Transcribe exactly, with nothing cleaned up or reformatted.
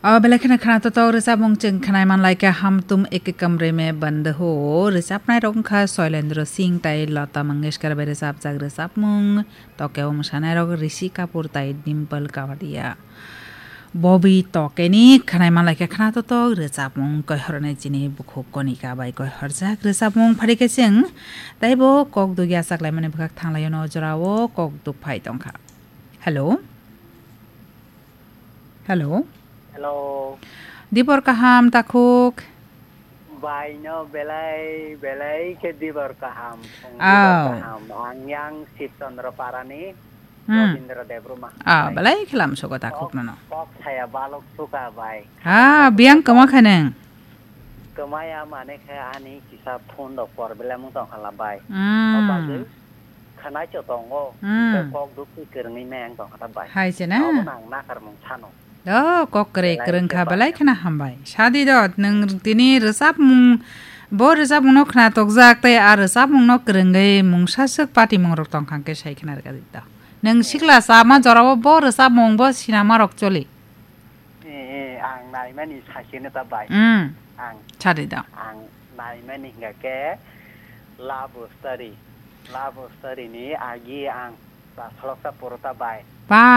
O belai kheno khana totok rwchapmung chwng khnai man lai kha, Hum Tum Ek Kamre Mein Band Ho. Rwchapnai rok wngkha Shailendra Singh tai Lata Mangeshkar bai rwchapjak rwchapmung. Tokeo mwsanai rok Rishi Kapoor tai Dimple Kapadia. Bobby Tokeni khnai man lai kha khana totok rwchapmung, koihornai chini bukhuk Konika bai koihorjak rwchapmung. Phari khe chwng taibo kok dugya chaklaimani bwkhak thanglaio no jorao kok duk phai tongkha. Hello. Hello. Hello. Dibor kaham takhuk. Bai no belai belai khe dibor kaham. Phung dibor Aw. Kaham. Ang yang Sib Chandra Parani. Hmm. Robindra Debruma. Ah, Bai. Belai khe lam sugo takhuk Kok, nono. Kok saya balok suka bai. Ah, biang kama khaneng. Kemaya mane khe ani kisa phone rok por belai mung tong khala bai. Hmm. O bagwi khanai cho tongo. Hmm. Hingke kok duk khe kwrwngwi meng tong kha ta bai. Hai se na? Abo nang nakar mung sano. Do kok kwrwi belai kwrwng khe kha bai. Belai khna hambai. Sadi do nwng tini rwchapmung bo rwchapmung no khna tokjak tei a rwchapmung no kwrwngwi mungsa swk patimung rok tong kha khe sai khna rwkha di do. Nwng sikla chama jorao bo rwchapmung bo sinama rok choli. Eh, eh, ang naimani sachini ta bai. Hmm. Ang, Chari da. Ang naimani hingga ke love story. Love story ni agi ang basalok ta puro ta bai. Ba.